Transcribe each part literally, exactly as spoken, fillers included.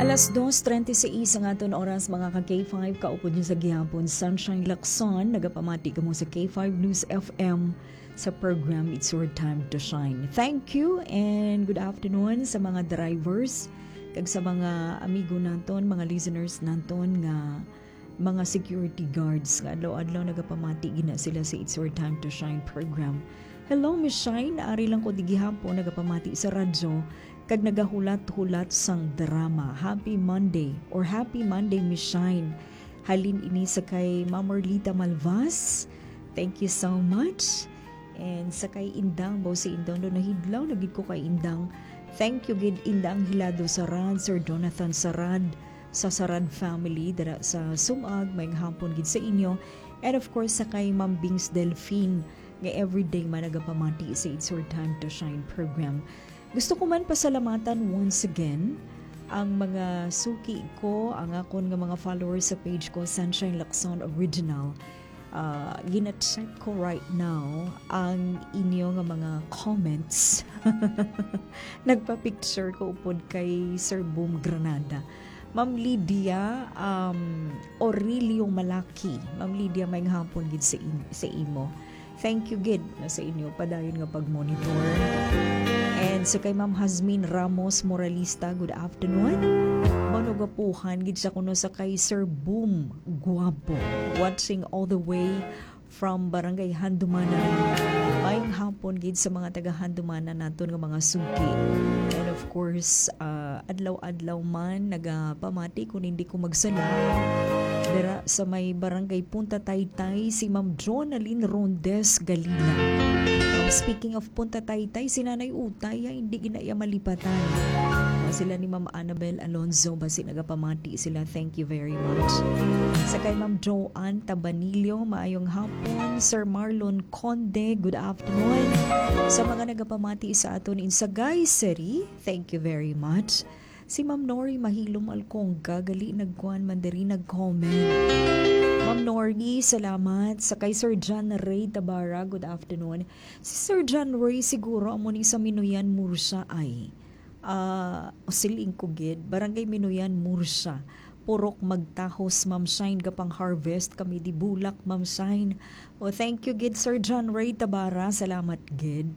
Alas dos treinta y seis ang aton oras, mga ka K five. Kaupod niyo sa gihapon, Sunshine Lacson. Nagapamati kamo sa K five News F M sa program It's Your Time to Shine. Thank you and good afternoon sa mga drivers kag sa mga amigo naton, mga listeners naton nga mga security guards nga adlaw-adlaw nagapamati gina sila sa It's Your Time to Shine program. Hello, Miss Shine. Ari lang ko di gihapon nagapamati sa radyo kag nagahulat-hulat sang drama. Happy Monday or Happy Monday, Miss Shine. Halin ini sa kay Ma'am Orlita Malvas. Thank you so much. And sa kay Indang, baw si Indang do nahidlaw lagi ko kay Indang. Thank you gid, Indang Hilado Sarad, Sir Jonathan Sarad, sa Sarad family dira sa Sumag. May hapon gid sa inyo. And of course, sa kay Ma'am Bings Delfin, nga everyday man nagapamati sa It's Your Time to Shine program. Gusto ko man pasalamatan once again ang mga suki ko, ang akon nga mga followers sa page ko, Sunshine Lacson Original. Ah, gina-check ko right now ang inyo nga mga comments. Nagpa-picture ko upod kay Sir Boom Granada. Ma'am Lydia, um, Aurelio Malaki. Ma'am Lydia, may hapon gid sa, in- sa imo. Thank you gid na sa inyo padayon nga pag-monitor. And sa kay Ma'am Hazmin Ramos Moralista, good afternoon. Manugapuhan gid sa kuno sa kay Sir Boom Guapo, watching all the way from Barangay Handumanan. Mayong hapon gid sa mga taga Handumanan naton nga mga suki. And of course, ah, adlaw-adlaw man nagapamati, kung hindi ko magsala, dira sa may Barangay Punta Taytay, si Ma'am Jonalyn Rondes Galila. Um, speaking of Punta Taytay, si Nanay Utay, ah, hindi gina iya malipatan. Ah, sila ni Ma'am Annabel Alonzo, basi nagapamati sila. Thank you very much. Sa kay Ma'am Joanne Tabanillo, maayong hapon. Sir Marlon Conde, good afternoon. Sa mga nagapamati sa aton in Sagay City, thank you very much. Si Ma'am Nori Mahilom Alcongga, gali nagkuan man diri, nag-comment. Ma'am Nori, salamat. Sa kay Sir John Ray Tabara, good afternoon. Si Sir John Ray siguro amo ni sa Minuyan, Murcia ay. Ah, siling ko gid, Barangay Minuyan, Murcia. Purok Magtahos, Ma'am Shine, gapang-harvest kami di bulak, Ma'am Shine. Oh, thank you gid, Sir John Ray Tabara. Salamat gid.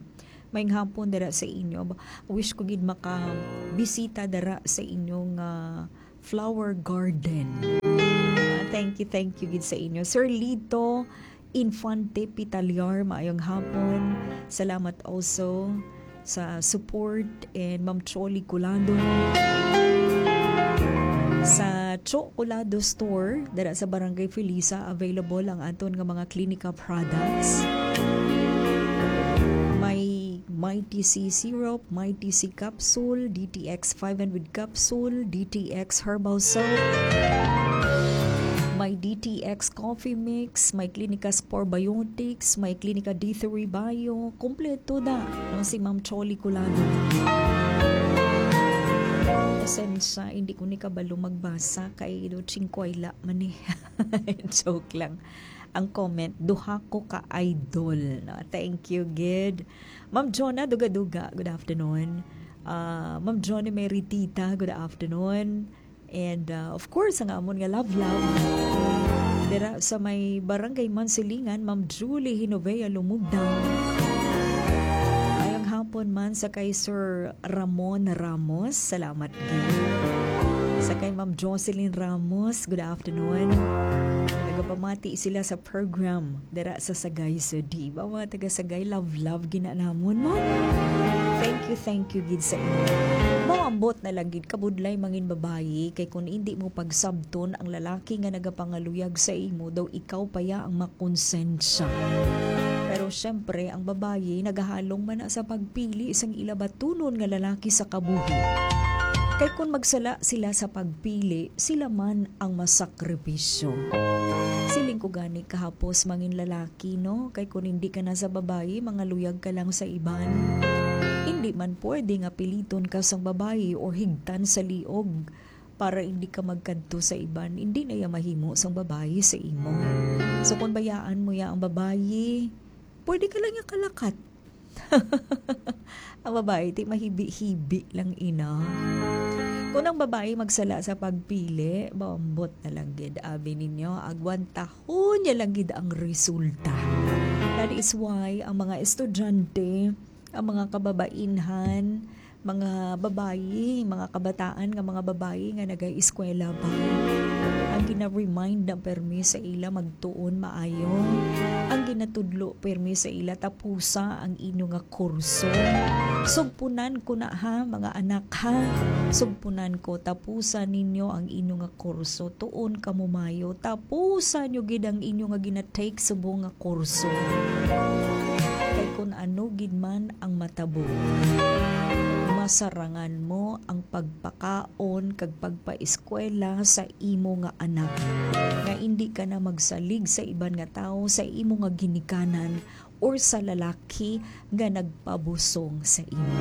May hapon dira sa inyo. Ba- Wish ko gid makabisita dira sa inyong, ah, flower garden. Ah, thank you, thank you gid sa inyo. Sir Lito Infante Pitaliar, maayong hapon. Salamat also sa support, and Ma'am Choli Colado. Sa Cho Colado Store, dira sa Barangay Felisa, available ang aton nga mga Clinica products. May Mighty C syrup, Mighty C capsule, D T X five hundred capsule, D T X herbal soap, may D T X coffee mix, may Clinica Spore Biotics, may Clinica D three Bio. Kompleto na ang si Ma'am Choli Colado. Pasensya, hindi ko ni kabalo magbasa kay do chingkwayla man eh. Joke lang. Ang comment, duha ko ka idol. No? Thank you, gid. Ma'am Jonah Dugaduga, good afternoon. Ah, Ma'am Johnny Meritita, good afternoon. And, ah, of course, ang amon nga love, love. Dira sa may Barangay Mansilingan, Ma'am Julie Hinovea Lumugdang. Mayong hapon man sa kay Sir Ramon Ramos. Salamat gid. Sa kay Ma'am Jocelyn Ramos, good afternoon. Nagapamati sila sa program dira sa Sagay City. Ba, mga taga Sagay, love, love gina namon mo. Thank you, thank you gid sa inyo. Mao ambot na lang gid kabudlay mangin babayi, kay kung hindi mo pagsabton ang lalaki nga nagapangaluyag sa imo, daw ikaw pa ya ang makonsensya. Pero syempre, ang babayi nagahalong man na sa pagpili sang ila batunon nga lalaki sa kabuhi. Kay kung magsala sila sa pagpili, sila man ang masakripisyo. Siling ko gani kahapos mangin lalaki, no? Kay kung hindi ka na sa babayi, mangaluyag ka lang sa iban. Hindi man pwede nga piliton ka sang babayi or higtan sa liog para hindi ka magkadto sa iban. Hindi na iya mahimo sang babayi sa imo. So kung bayaan mo ya ang babayi, pwede ka lang iya kalakat. Ang babayi, ti mahibi-hibi lang ina. Kung ang babayi magsala sa pagpili, maambot na lang gid, abi ninyo, agwantahon niya lang gid ang resulta. That is why ang mga estudyante, ang mga kababainhan, mga babayi, mga kabataan nga mga babayi nga nagaeskwela pa, ang gina-remind na permi sa ila magtuon maayo, ang ginatudlo permi sa ila, tapusa ang inyo nga kurso. Sugpunan ko na, ha, mga anak, ha. Sugpunan ko, tapusa ninyo ang inyo nga kurso. Tuon kamo maayo. Tapusa nyo gid ang inyo nga gina-take subong nga kurso. Kay kun ano gid man ang matabo, masarangan mo ang pagpakaon kag pagpaeskwela sa imo nga anak, nga indi ka na magsalig sa iban nga tawo, sa imo nga ginikanan, or sa lalaki nga nagpabusong sa imo.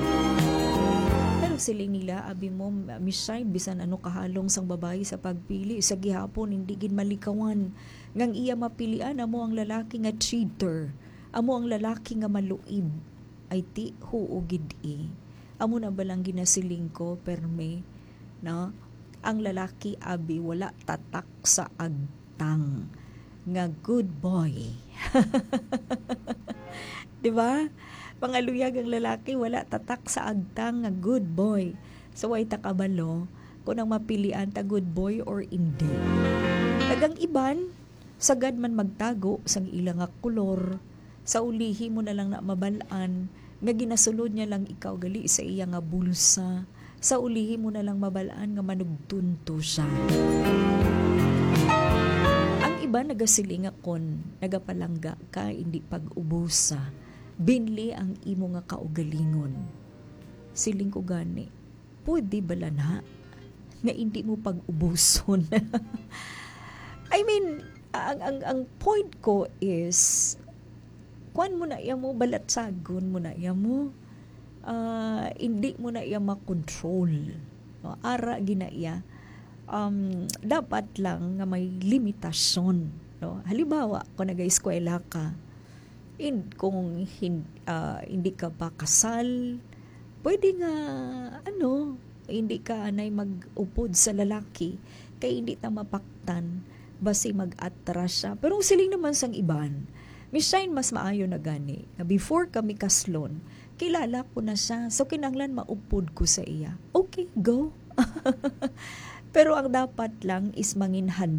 Pero siling nila, abi mo, Miss Shine, bisan ano kahalong sang babayi sa pagpili, sa gihapon hindi gid malikawan nga ang iya mapilian amo ang lalaki nga cheater, amo ang lalaki nga maluib. Ay, ti, huo gid, eh. Amo na ba lang ginasiling ko, permi, no? Ang lalaki, abi, wala tatak sa agtang nga good boy. Di ba? Mga luyag ang lalaki, wala tatak sa agtang nga good boy. So, way ta kabalo kung ang mapilian ta good boy or hindi. Kag ang iban, sagad man magtago sang ila nga kolor, sa ulihi mo na lang na mabal-an nga ginasulod niya lang ikaw gali sa iya nga bulsa. Sa ulihi mo na lang mabal-an nga manugtunto siya. Ang iba nagasiling nga kon nagapalangga ka, hindi pag-ubusa, binli ang imo nga kaugalingon. Siling ko gani, pwede bala na nga hindi mo pag-ubuson? I mean, ang, ang, ang point ko is, kuan mo na iya mo, balatsagon mo na iya mo. Ah, hindi mo na iya makontrol. No? Ara gina iya. Um, dapat lang nga may limitasyon. No? Halimbawa, kung nag-eskwela ka, in, kung hin-, ah, hindi ka pa kasal, pwede nga, ano, hindi ka anay mag-upod sa lalaki kay hindi ta mapaktan, basi mag-atras siya. Pero ang siling naman sang iban, Miss Shine, mas maayo na gani nga before kami kaslon, kilala ko na siya. So, kinahanglan maupod ko sa iya. Okay, go. Pero ang dapat lang is manginhanda